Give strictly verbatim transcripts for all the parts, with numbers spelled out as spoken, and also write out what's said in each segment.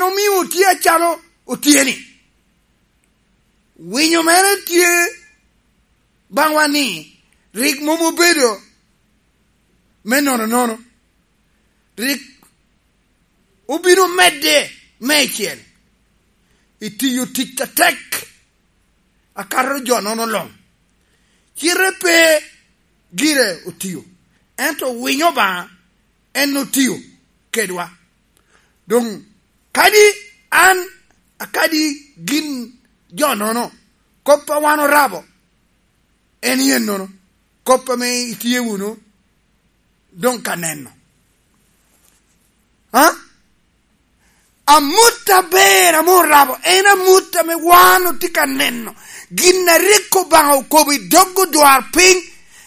Omio otye acalo otye-ni. Winyo mere tye baŋwa ni rik mom obedo me nono nono. Rik obino medde meicel i tiyo tic atek akato jo nono luŋ. Cite pe gire otio, ento winyo Obaŋa en otio kedwa. Doŋ kadi an akadi gin jo nono, kop a wan orabo en yen nono, kop ame itye wunu doŋ ka neno. Ha? Amut aber ame orabo en amut ame wan otye ka neno. Gin a rik Obaŋa okobo i dog odwarpiny,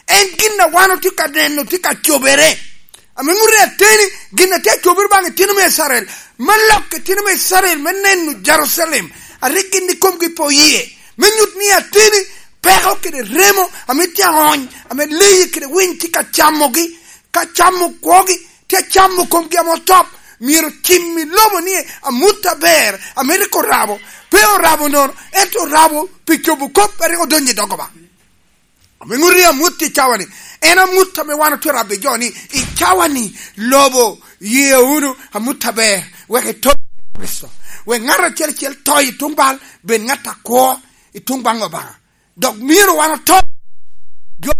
en gin a wan otye ka neno tye ka cobere. Ame ŋuti ateni, gin a tye acobere baŋ itino me Icrael, me lok itino me Icrael me neno Jerucalem, a rik gin ikomgi pe oye, me nyut ni ateni peko kede remo ame tye aony, ame leyi kede winy tye ka camogi, ka camo kwogi, tye acamo komgi ame otop, myero cim i lobo ni amut aber ame rik orabo, pe orabo nono, ento orabo pi cobo kop a rik odonyo i dog Obaŋa. Ame ŋuti amut i cawa-ni, en amut ame wan otye rabo i jo ni, i cawa-ni, lobo ye wunu amut aber, wek ito Kricito, wek ŋat acel acel to i tuŋ bal, bed ŋat akwo i tuŋ baŋ Obaŋa. Dok myero wan oto. Jo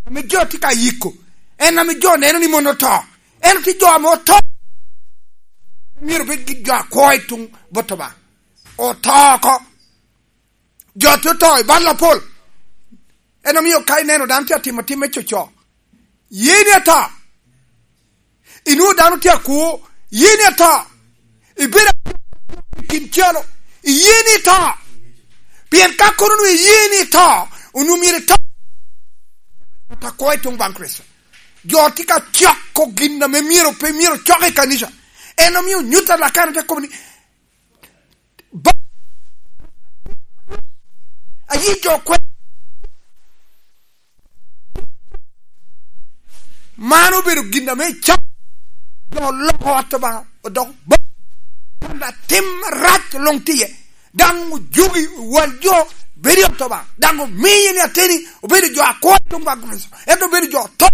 ame jo tye ka yiko, en ame jo neno ni mon oto. En tye jo ame oto. Myero bed gi jo akwo i tuŋ bot Obaŋa. Oto oko. Jo tye oto i bal apol. En omio ka ineno dano tye atimo tim me coco, ye ni ato. Inwoŋo dano tye akwo, ye ni ato. Ibedo i kin calo, iye ni ito. Pien ka kono onwoŋo iye ni ito, onwoŋo myero ito. Ata kwo i tuŋ baŋ Kricito. Jo tye ka coko gin ame myero pe myero cok i kanica. En omio nyuto alakana te kobo ni, ba-, ayi jo kwe-, man obedo gin ame cam jo oloko ot Obaŋa, odoko ba-, panda tim rac luŋ tye. Daŋ ojugi wal jo bedo i ot Obaŋa. Daŋ omiye ni ateni obedo jo akwo i tuŋ baŋ Kricito. Ento obedo jo oto.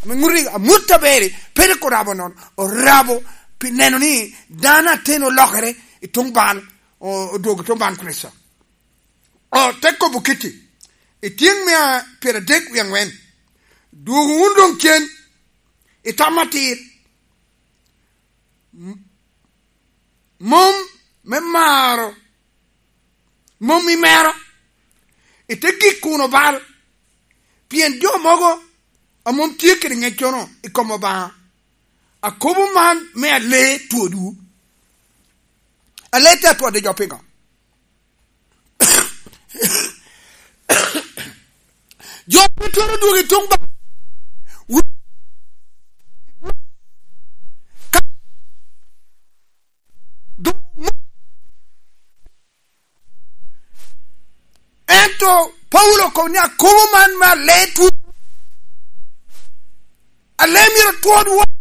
Ame ŋuti amut aber, pe rik orabo nono. Orabo pi neno ni dano ateni olokere i tuŋ bal, o-, odwogo i tuŋ baŋ Kricito. O, te kobo kiti, i tyeŋ mia pyeradek wie aŋwen, dwogo wun doŋ cen, i tam atir, m-, mom me maro, mom i mero, ite gik kun obal, pien jo mogo a mom tye kede ŋeccono i kom Obaŋa. Akobo man me ale twodwu. Ale te atwodde jo piŋo? Jo pe twero dwogo i tuŋ ba-, ento Paulo okobo ni akobo man me ale twu-, ale myero twodwu.